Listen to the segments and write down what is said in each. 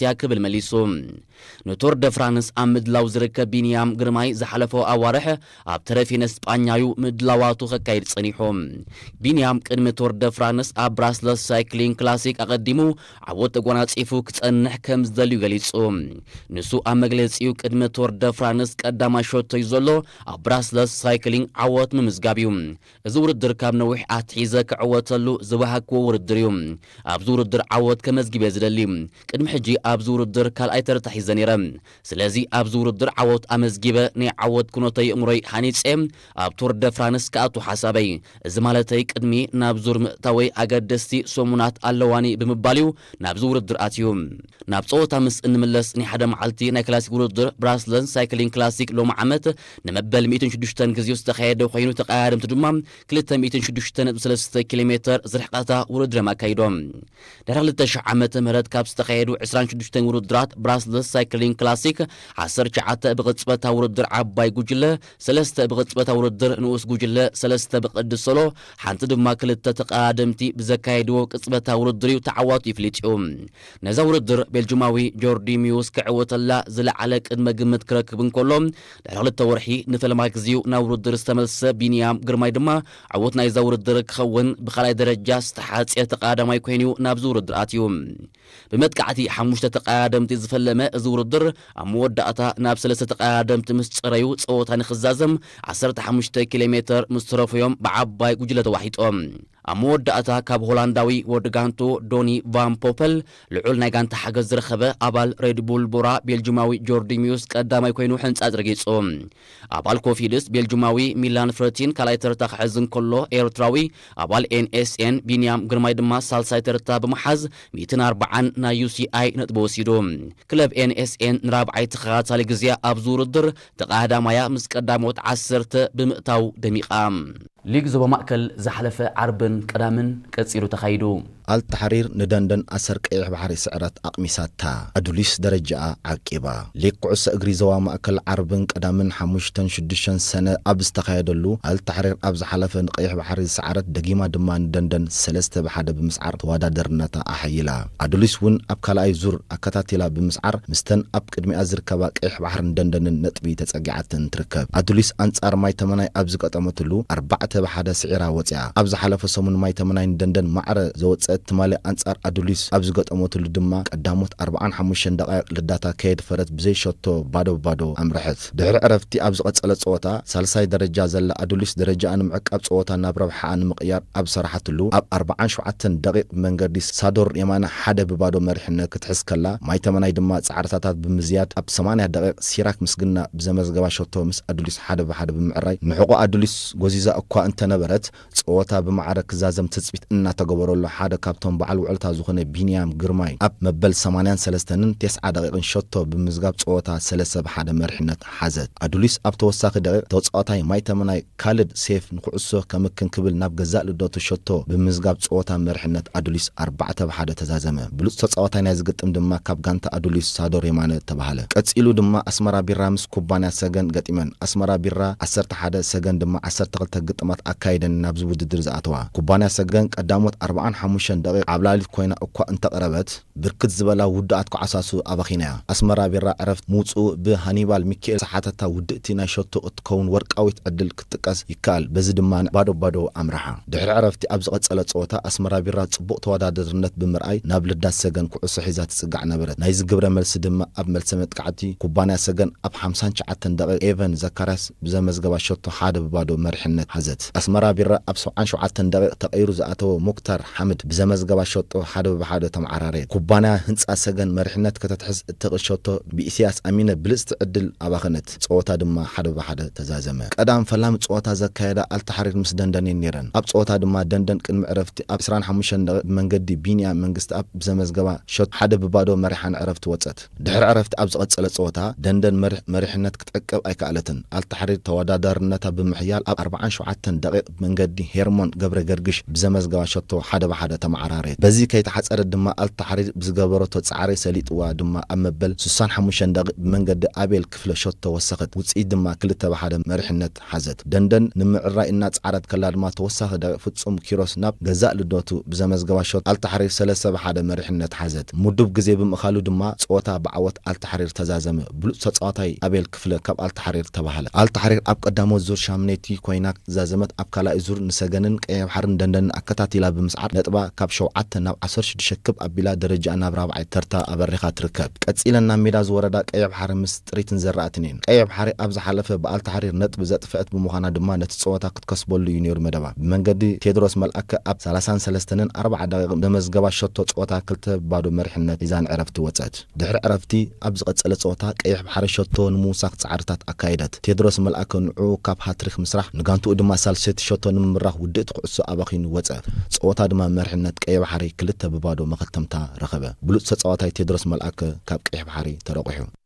እያ ክብል መሊሱ። ንቶር ደ ፍራንስ ኣብ ምድላው ዝርከብ ቢንያም ግርማይ ዝሓለፈ ኣዋርሕ ኣብ ተረፊነ ስጳኛዩ ምድላዋቱ ከካይድ ጸኒሑ። ቢንያም ቅድሚ ቶር ደ ፍራንስ ኣብ ብራስለስ ሳይክሊንግ ክላሲክ ኣቐዲሙ ዓወት ተጓናጺፉ ክጸንሕ ከም ዝደልዩ ገሊጹ። ንሱ ኣብ መግለጺኡ ቅድሚ ቶር ደ ፍራንስ ቀዳማይ ሸቶዩ ዘሎ ኣብ ብራስለስ ሳይክሊንግ ዓወት ምምዝጋብ እዩ። እዚ ውድድር ካብ ነዊሕ ኣትሒዘ ክዕወተሉ ዝበሃግክዎ ውድድር እዩ። ኣብዚ ውድድር ዓወት ከመዝግብ እየ ዝደሊ። ቅድሚ ሕጂ ኣብዚ ውድድር ካልኣይ ተርታ ሒዘ ነይረ። ስለዚ ኣብዚ ውድድር ዓወት ኣመዝጊበ ናይ ዓወት ኩነተይ እምሮይ ሃኒጸ ኣብ ቱር ደ ፍራንስ ክኣቱ ሓሳበይ። እዚ ማለተይ ቅድሚ ናብ ዙር ምእታወይ ኣገደስቲ ሰሙናት ኣለዋኒ ብምባል እዩ ናብዚ ውድድር ኣትዩ። ናብ ጸወታ ምስ እንምለስ ናይ ሓደ መዓልቲ ናይ ክላሲክ ውድድር ብራስለስ ሳይክሊንግ ክላሲክ ሎሚ ዓመት ንመበል ሚእትን ሽዱሽተን ግዜኡ ዝተኻየደ ኮይኑ ተቐያደምቲ ድማ ክልተ ሚእትን ሽዱሽተ ነጥቢ ሰለስተ ኪሎ ሜተር ዝርሕቐታ ውድድር እዮም ኣካይዶም። ድሕሪ ክልተ ሽሕ ዓመተ ምህረት ካብ ዝተኻየዱ ዕስራን ሽዱሽተን ውድድራት ብራስለስ ሳይክሊንግ ክላሲክ ዓሰርተ ትሽዓተ ብቕጽበታ ውድድር ዓባይ ጉጅለ፣ ሰለስተ ብቕጽበታ ውድድር ንኡስ ጉጅለ፣ ሰለስተ ብቕዲ ሶሎ፣ ሓንቲ ድማ ክልተ ተቐዳደምቲ ብዘካየድዎ ቅጽበታ ውድድር እዩ ተዓዋቱ ይፍሊጥ እዩ። ነዛ ውድድር ቤልጅማዊ ጆርዲ ሚውስ ክዕወተላ ዝለዓለ ቅድመ ግምት ክረክብ እንከሎ፣ ድሕሪ ክልተ ወርሒ ንፈለማ ግዜኡ ናብ ውድድር ዝተመልሰ ቢንያም ግርማይ ድማ ዕውት ናይዛ ውድድር ክኸውን ብኻልኣይ ደረጃ ዝተሓጽየ ተቐዳዳማይ ኮይኑ ናብዚ ውድድር ኣትዩ። ብመጥቃዕቲ ሓሙሽተ ተቐዳደምቲ ዝፈለመ እዚ ውድድር ኣብ መወዳእታ ናብ ሰለስተ ተቐዳደምቲ ምስ ጸረዩ ጸወታ ንኽዛዘም ዓሰርተ ሓሙሽተ ኪሎ ሜተር ምስ ተረፈዮም ብዓባይ ጉጅለ ተዋሒጦም። ኣብ መወዳእታ ካብ ሆላንዳዊ ወድጋንቶ ዶኒ ቫን ፖፐል ልዑል ናይ ጋንታ ሓገዝ ዝረኸበ ኣባል ሬድ ቡል ቦራ ቤልጅማዊ ጆርዲ ሚውስ ቀዳማይ ኮይኑ ሕንጻጽ ረጊጹ። ኣባል ኮፊድስ ቤልጅማዊ ሚላን ፍረቲን ካልኣይ ተርታ ክሕዝ እንከሎ ኤርትራዊ ኣባል ኤንኤስኤን ቢንያም ግርማይ ድማ ሳልሳይ ተርታ ብምሓዝ ሚእትን ኣርባዓን ናይ ዩሲኣይ ነጥቢ ወሲዱ። ክለብ ኤንኤስኤን ንራብዓይ ተኸታታሊ ግዜ ኣብዚ ውድድር ተቐዳዳማያ ምስ ቀዳሞት ዓሰርተ ብምእታው ደሚቓ። ሊግ ዞባ ማእከል ዝሓለፈ ዓርብን ቀዳምን ቀጺሉ ተኻይዱ። ኣልታሕሪር ንደንደን ኣሰር ቀይሕ ባሕሪ ስዕረት ኣቕሚሳታ። ኣዱሊስ ደረጃኣ ዓቂባ። ሊግ ኩዕሶ እግሪ ዞባ ማእከል ዓርብን ቀዳምን ሓሙሽተን ሽዱሽተን ሰነ ኣብ ዝተኻየደሉ ኣልታሕሪር ኣብ ዝሓለፈ ንቀይሕ ባሕሪ ዝሰዓረት ደጊማ ድማ ንደንደን ሰለስተ ብሓደ ብምስዓር ተወዳደርነታ ኣሐይላ። ኣዱሊስ እውን ኣብ ካልኣይ ዙር ኣከታቲላ ብምስዓር ምስተን ኣብ ቅድሚኣ ዝርከባ ቀይሕ ባሕርን ደንደንን ነጥቢ ተጸጊዓተን ትርከብ። ኣዱሊስ ኣንጻር ማይ ተመናይ ኣብ ዝገጠመትሉ ኣርባዕተ ብሓደ ስዒራ ወጺኣ። ኣብ ዝሓለፈ ሰሙን ማይ ተመናይ ንደንደን ማዕረ ዘወጸት ትማሊ ኣንጻር ኣዱሊስ ኣብ ዝገጠመትሉ ድማ ቀዳሞት ኣርባዓን ሓሙሽተን ደቓይቕ ልዳታ ከየድፈረት ብዘይ ሸቶ ባዶ ብባዶ ኣምረሐት። ድሕሪ ዕረፍቲ ኣብ ዝቐጸለ ጸወታ ሳልሳይ ደረጃ ዘላ ኣዱሊስ ደረጃኣ ንምዕቃብ ጸወታ ናብ ረብሓኣ ንምቕያር ኣብ ዝሰራሓትሉ ኣብ ኣርባዓን ሸውዓተን ደቒቕ መንገዲ ሳዶር የማነ ሓደ ብባዶ መሪሕነት ክትሕዝ ከላ ማይ ተመናይ ድማ ጻዕርታታት ብምዝያድ ኣብ ሰማንያ ደቒቕ ሲራክ ምስግና ብዘመዝገባ ሸቶ ምስ ኣዱሊስ ሓደ ብሓደ ብምዕራይ ንሕቖ ኣዱሊስ ጎዚዛ እኳ እንተነበረት ጸወታ ብማዕረ ክዛዘም ትጽቢት እናተገበረሉ ሓደ ካብቶም በዓል ውዕልታ ዝኾነ ቢንያም ግርማይ ኣብ መበል ሰማንያን ሰለስተን ተስዓ ደቒቕን ሸቶ ብምዝጋብ ጸወታ ሰለስተ ብሓደ መሪሕነት ሓዘት። ኣዱሊስ ኣብ ተወሳኺ ደቒቕ ተጻዋታይ ማይ ተመናይ ካልድ ሴፍ ንኩዕሶ ከምክን ክብል ናብ ገዛእ ልደቱ ሸቶ ብምዝጋብ ጸወታ መሪሕነት ኣዱሊስ ኣርባዕተ ብሓደ ተዛዘመ። ብሉጽ ተጻዋታይ ናይዚ ግጥም ድማ ካብ ጋንታ ኣዱሊስ ሳዶር የማነ ተባህለ። ቀጺሉ ድማ ኣስመራ ቢራ ምስ ኩባንያ ሰገን ገጢመን። ኣስመራ ቢራ ዓሰርተ ሓደ፣ ሰገን ድማ ዓሰርተ ክልተ ግጥማት ኣካይደን ናብዚ ውድድር ዝኣተዋ። ኩባንያ ሰገን ቀዳሞት ኣርባዓን ሓሙሽተን ደቂቕ ዓብላሊት ኮይና እኳ እንተቕረበት፣ ብርክት ዝበላ ውዱኣት ኮዓሳሱ ኣባኺናያ። ኣስመራ ቢራ ዕረፍቲ ምውጽኡ ብሃኒባል ሚካኤል ዝሓተታ ውድእቲ ናይ ሸቶ እትኸውን ወርቃዊት ዕድል ክትጥቀስ ይከኣል። በዚ ድማ ባዶ ባዶ ኣምርሓ። ድሕሪ ዕረፍቲ ኣብ ዝቐጸለ ጸወታ ኣስመራ ቢራ ጽቡቕ ተወዳዳርነት ብምርኣይ ናብ ልዳት ሰገን ኩዕሶ ሒዛ ትጽጋዕ ነበረት። ናይዚ ግብረ መልሲ ድማ ኣብ መልሰ መጥቃዕቲ ኩባንያ ሰገን ኣብ ሓምሳን ትሽዓተን ደቂቕ ኤቨን ዘካርያስ ብዘመዝገባ ሸቶ ሓደ ብባዶ መሪሕነት ሓዘት። ኣስመራ ቢራ ኣብ ሰብዓን ሸውዓተን ደቂቕ ተቐይሩ ዝኣተወ ሙክታር ሓምድ ብዘመዝገባ ሸቶ ሓደ ብሓደ ተመዓራረየት። ኩባንያ ህንጻ ሰገን መሪሕነት ከተትሕዝ እትኽእል ሸቶ ብኢስያስ ኣሚነ ብልጽቲ ዕድል ኣባኸነት። ጸወታ ድማ ሓደ ብሓደ ተዛዘመ። ቀዳም ፈላሚ ጸወታ ዘካየዳ ኣልታሕሪር ምስ ደንደን እየን ነይረን። ኣብ ጸወታ ድማ ደንደን ቅድሚ ዕረፍቲ ኣብ ዕስራን ሓሙሽተን ደቂቕ ብመንገዲ ቢንያም መንግስትኣብ ብዘመዝገባ ሸቶ ሓደ ብባዶ መሪሓ ንዕረፍቲ ወጸት። ድሕሪ ዕረፍቲ ኣብ ዝቐጸለ ጸወታ ደንደን መሪሕ-፣ መሪሕነት ክትዕቅብ ኣይከኣለትን። ኣልታሕሪር ተወዳዳርነታ ብምሕያል ኣብ ኣርባዓን ሸውዓተን ደቂቕ ብመንገዲ ሄርሞን ገብረ ገርግሽ ብዘመዝገባ ሸቶ ሓደ ብሓደ መዓራረየት። በዚ ከይተሓጸረት ድማ ኣልታሕሪር ብዝገበረቶ ጻዕሪ ሰሊጥዋ ድማ ኣብ መበል ስሳን ሓሙሽተን ደቂቕ ብመንገዲ ኣቤል ክፍለ ሸቶ ወሰኸት። ውጽኢት ድማ ክልተ ብሓደ መሪሕነት ሓዘት። ደንደን ንምዕራይ እናጻዕረት ከላ ድማ ተወሳኺ ደቂቕ ፍጹም ኪሮስ ናብ ገዛእ ልደቱ ብዘመዝገባ ሸቶ ኣልታሕሪር ሰለስተ ብሓደ መሪሕነት ሓዘት። ምዱብ ግዜ ብምእካሉ ድማ ጸወታ ብዓወት ኣልታሕሪር ተዛዘመ። ብሉጽ ተጻዋታይ ኣቤል ክፍለ ካብ ኣልታሕሪር ተባህለ። ኣልታሕሪር ኣብ ቀዳሞት ዙር ሻምነይቲ ኮይና ዛዘመት። ኣብ ካልኣይ ዙር ንሰገንን ቀይሕ ባሕርን ደንደንን ኣከታቲላ ብምስዓር ነጥባ ካብ ሸውዓተ ናብ ዓሰርተ ሽዱሽተ ክብ ኣቢላ ደረጃኣ ናብ ራብዓይ ተርታ ኣበሪኻ ትርከብ። ቀጺለን ናብ ሜዳ ዝወረዳ ቀይሕ ባሕሪ ምስ ጥሪትን ዘራእትን እየን። ቀይሕ ባሕሪ ኣብ ዝሓለፈ ብኣልታሕሪር ነጥቢ ዘጥፍአት ብምዃና ድማ ነቲ ጸወታ ክትከስበሉ እዩ ነይሩ መደባ። ብመንገዲ ቴድሮስ መልኣከ ኣብ ሰላሳን ሰለስተን ኣርባዓ ደቂቕ ዘመዝገባ ሸቶ ጸወታ ክልተ ባዶ መሪሕነት ሒዛ ንዕረፍቲ ወጸት። ድሕሪ ዕረፍቲ ኣብ ዝቐጸለ ጸወታ ቀይሕ ባሕሪ ሸቶ ንምውሳኽ ጻዕርታት ኣካየደት። ቴድሮስ መልኣከ ንዕኡ ካብ ሃትሪክ ምስራሕ ንጋንትኡ ድማ ሳልሰይቲ ሸቶ ንምምራኽ ውድእቲ ኩዕሶ ኣባኺኑ ወጸ። ጸወታ ድማ መሪሕነት ቀይሕ ባሕሪ ክልተ ብባዶ መኸተምታ ረኸበ። ብሉጽ ተጻዋታይ ቴድሮስ መልኣከ ካብ ቀይሕ ባሕሪ ተረቑሑ።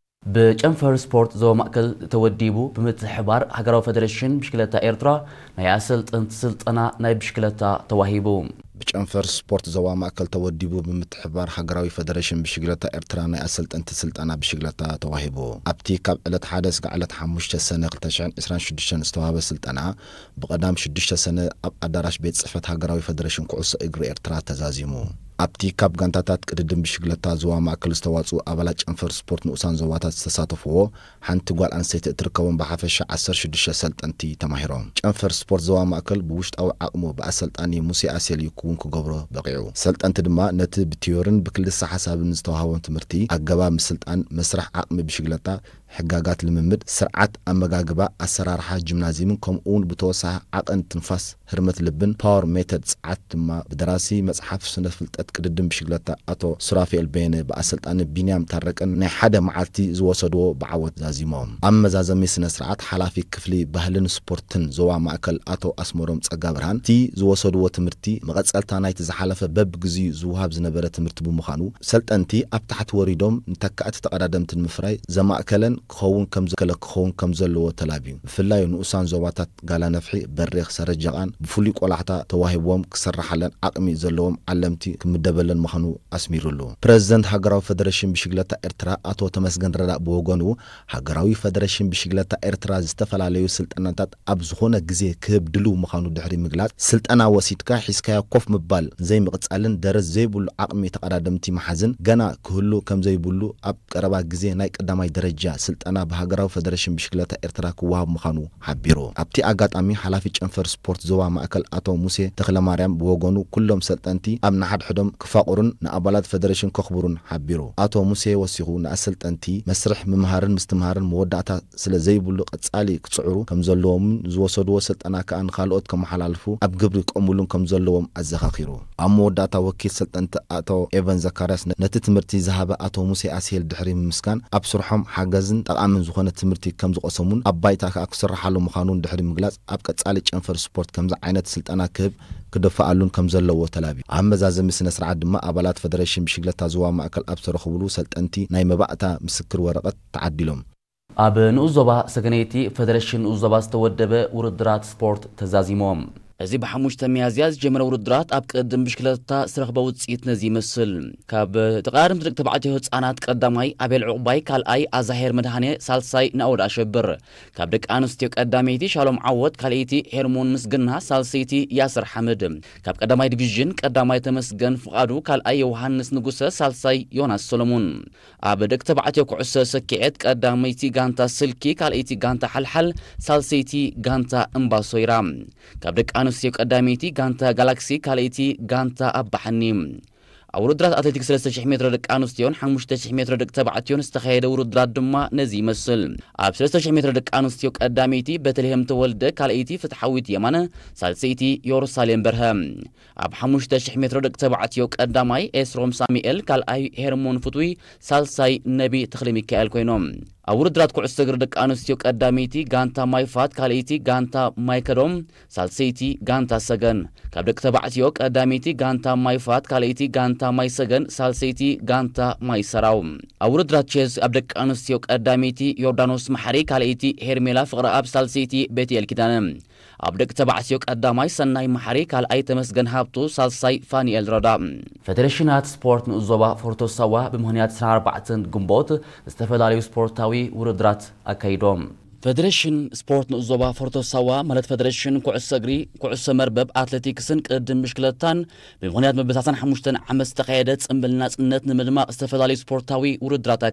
ብጨንፈር ስፖርት ዞባ ማእከል ተወዲቡ ብምትሕብባር ሃገራዊ ፈደሬሽን ብሽክለታ ኤርትራ ናይ ኣሰልጠንቲ ስልጠና ናይ ብሽክለታ ተዋሂቡ። ብጨንፈር ስፖርት ዞባ ማእከል ተወዲቡ ብምትሕብባር ሃገራዊ ፈደሬሽን ብሽክለታ ኤርትራ ናይ ኣሰልጠንቲ ስልጠና ብሽክለታ ተዋሂቡ። ኣብቲ ካብ ዕለት ሓደ እስካዕ ዕለት ሓሙሽተ ሰነ ክልተ ሽሕን ዕስራን ሽዱሽተን ዝተዋህበ ስልጠና ብቐዳም ሽዱሽተ ሰነ ኣብ ኣዳራሽ ቤት ጽሕፈት ሃገራዊ ፈደሬሽን ኩዕሶ እግሪ ኤርትራ ተዛዚሙ። ኣብቲ ካብ ጋንታታት ቅድድም ብሽክለታ ዞባ ማእከል ዝተዋጽኡ ኣባላት ጨንፈር ስፖርት ንኡሳን ዞባታት ዝተሳተፍዎ ሓንቲ ጓል ኣንስተይቲ እትርከቦም ብሓፈሻ ዓሰርተ ሽዱሽተ ሰልጠንቲ ተማሂሮም። ጨንፈር ስፖርት ዞባ ማእከል ብውሽጣዊ ዓቕሙ ብኣሰልጣኒ ሙሴ ኣሴል ይኩውን ክገብሮ በቒዑ። ሰልጠንቲ ድማ ነቲ ብቲዮርን ብክልሰ ሓሳብን ዝተዋህቦም ትምህርቲ፣ ኣገባብ ምስልጣን፣ መስርሕ ዓቕሚ ብሽግለታ፣ ሕጋጋት ልምምድ፣ ስርዓት ኣመጋግባ፣ ኣሰራርሓ ጂምናዝየምን ከምኡውን ብተወሳኺ ዓቐን ትንፋስ፣ ህርመት ልብን ፓወር ሜተድ ጸዓት ድማ ብደራሲ መጽሓፍ ስነ ፍልጠት ቅድድም ብሽግለታ ኣቶ ሱራፌል በየነ ብኣሰልጣኒ ቢንያም ታረቀን ናይ ሓደ መዓልቲ ዝወሰድዎ ብዓወት ዛዚሞም። ኣብ መዛዘሚ ስነ ስርዓት ሓላፊ ክፍሊ ባህልን ስፖርትን ዞባ ማእከል ኣቶ ኣስመሮም ጸጋብርሃን እቲ ዝወሰድዎ ትምህርቲ መቐጸልታ ናይቲ ዝሓለፈ በብግዚኡ ዝወሃብ ዝነበረ ትምህርቲ ብምዃኑ ሰልጠንቲ ኣብ ታሕቲ ወሪዶም ንተካእቲ ተቐዳደምቲ ንምፍራይ ዘማእከለን ክኸውን ከም ዘከለ ክኸውን ከም ዘለዎ ተላብዩ። ብፍላይ ንኡሳን ዞባታት ጋላ ነፍሒ፣ በሪኽ፣ ሰረጀቓን ብፍሉይ ቆላሕታ ተዋሂብዎም ክስርሓለን ዓቕሚ ዘለዎም ዓለምቲ ክምደበለን ምዃኑ ኣስሚሩሉ። ፕረዚደንት ሃገራዊ ፈደሬሽን ብሽግለታ ኤርትራ ኣቶ ተመስገን ረዳእ ብወገኑ ሃገራዊ ፈደሬሽን ብሽግለታ ኤርትራ ዝተፈላለዩ ስልጠናታት ኣብ ዝኾነ ግዜ ክህብ ድልው ምዃኑ ድሕሪ ምግላጽ ስልጠና ወሲድካ ሒዝካዮ ኮፍ ምባል ዘይምቕጻልን ደረት ዘይብሉ ዓቕሚ ተቐዳደምቲ ምሓዝን ገና ክህሉ ከም ዘይብሉ ኣብ ቀረባ ግዜ ናይ ቀዳማይ ደረጃ ስልጠና ብሃገራዊ ፈደሬሽን ብሽክለታ ኤርትራ ክወሃብ ምዃኑ ሓቢሩ። ኣብቲ ኣጋጣሚ ሓላፊ ጨንፈር ስፖርት ዞባ ማእከል ኣቶ ሙሴ ተኽለማርያም ብወገኑ ኩሎም ሰልጠንቲ ኣብ ንሓድሕዶም ክፋቕሩን ንኣባላት ፈደሬሽን ከኽብሩን ሓቢሩ። ኣቶ ሙሴ ወሲኹ ንኣሰልጠንቲ መስርሕ ምምሃርን ምስትምሃርን መወዳእታ ስለ ዘይብሉ ቀጻሊ ክጽዕሩ ከም ዘለዎምን ዝወሰድዎ ስልጠና ከኣ ንኻልኦት ከመሓላልፉ ኣብ ግብሪ ከእምሉን ከም ዘለዎም ኣዘኻኺሩ። ኣብ መወዳእታ ወኪል ሰልጠንቲ ኣቶ ኤቨን ዘካርያስ ነ-፣ ነቲ ትምህርቲ ዝሃበ ኣቶ ሙሴ ኣስሄል ድሕሪ ምምስጋን ኣብ ስርሖም ሓገዝን ጠቓምን ዝኾነ ትምህርቲ ከም ዝቐሰሙን ኣብ ባይታ ከኣ ክስርሓሉ ምዃኑን ድሕሪ ምግላጽ ኣብ ቀጻሊ ጨንፈር ስፖርት ከምዚ ዓይነት ስልጠና ክህብ ክድፍኣሉን ከም ዘለዎ ተላብዩ። ኣብ መዛዘሚ ስነ ስርዓት ድማ ኣባላት ፈደሬሽን ብሽግለታ ዞባ ማእከል ኣብ ዝተረኽብሉ ሰልጠንቲ ናይ መባእታ ምስክር ወረቐት ተዓዲሎም። ኣብ ንኡስ ዞባ ሰገነይቲ ፈደረሽን ንኡስ ዞባ ዝተወደበ ውድድራት ስፖርት ተዛዚሞም። እዚ ብሓሙሽተ ሚያዝያ ዝጀመረ ውድድራት ኣብ ቅድም ብሽክለታ ዝተረኽበ ውፅኢት ነዚ ይመስል። ካብ ተቐዳደምቲ ደቂ ተባዕትዮ ህፃናት ቀዳማይ ኣቤል ዕቑባይ፣ ካልኣይ ኣዛሄር መድሃኔ፣ ሳልሳይ ናኦድ ኣሸብር። ካብ ደቂ ኣንስትዮ ቀዳመይቲ ሻሎም ዓወት፣ ካልኣይቲ ሄርሞን ምስግና፣ ሳልሰይቲ ያስር ሓምድ። ካብ ቀዳማይ ዲቪዥን ቀዳማይ ተመስገን ፍቓዱ፣ ካልኣይ ዮሃንስ ንጉሰ፣ ሳልሳይ ዮናስ ሰሎሞን። ኣብ ደቂ ተባዕትዮ ኩዕሶ ሰኪዔት ቀዳመይቲ ጋንታ ስልኪ፣ ካልኣይቲ ጋንታ ሓልሓል፣ ሳልሰይቲ ጋንታ እምባሶይራ። ካብ ደቂ ኣንስትዮ ቀዳመይቲ ጋንታ ጋላክሲ፣ ካልኣይቲ ጋንታ ኣባሓኒ። ኣብ ውድድራት ኣትሌቲክስ ሰለስተ ሽሕ ሜትሮ ደቂ ኣንስትዮን ሓሙሽተ ሽሕ ሜትሮ ደቂ ተባዕትዮን ዝተኻየደ ውድድራት ድማ ነዚ ይመስል። ኣብ ሰለስተ ሽሕ ሜትሮ ደቂ ኣንስትዮ ቀዳመይቲ በተልሄም ተወልደ፣ ካልኣይቲ ፍትሓዊት የማነ፣ ሳልሰይቲ የሩሳሌም በርሀ። ኣብ ሓሙሽተ ሽሕ ሜትሮ ደቂ ተባዕትዮ ቀዳማይ ኤስሮም ሳሙኤል፣ ካልኣይ ሄርሞን ፍትዊ፣ ሳልሳይ ነቢ ተኽለ ሚካኤል ኮይኖም። ኣብ ውድድራት ኩዕሶ እግሪ ደቂ ኣንስትዮ ቀዳመይቲ ጋንታ ማይፋት፣ ካልኣይቲ ጋንታ ማይከዶም፣ ሳልሰይቲ ጋንታ ሰገን። ካብ ደቂ ተባዕትዮ ቀዳመይቲ ጋንታ ማይፋት፣ ካልኣይቲ ጋንታ ማይሰገን፣ ሳልሰይቲ ጋንታ ማይሰራው። ኣብ ውድድራት ቼዝ ኣብ ደቂ ኣንስትዮ ቀዳመይቲ ዮርዳኖስ መሓሪ፣ ካልኣይቲ ሄርሜላ ፍቕረኣብ፣ ሳልሰይቲ ቤትኤል ኪዳነ። ኣብ ደቂ ተባዕትዮ ቀዳማይ ሰናይ መሓሪ፣ ካልኣይ ተመስገን ሃብቱ፣ ሳልሳይ ፋኒኤል ረዳ። ፈደሬሽናት ስፖርት ንኡስ ዞባ ፎርቶ ሳዋ ብምኽንያት ዕስራን ኣርባዕተን ግንቦት ዝተፈላለዩ ስፖርታዊ ውድድራት ኣካይዶም። ፈደሬሽን ስፖርት ንኡስ ዞባ ፎርቶ ሳዋ፣ ማለት ፈደሬሽን ኩዕሶ እግሪ፣ ኩዕሶ መርበብ፣ ኣትሌቲክስን ቅድድም ብሽክለታን ብምኽንያት መበል ሰላሳን ሓሙሽተን ዓመት ዝተኻየደ ጽምብል ናጽነት ንምድማቕ ዝተፈላለዩ ስፖርታዊ ውድድራት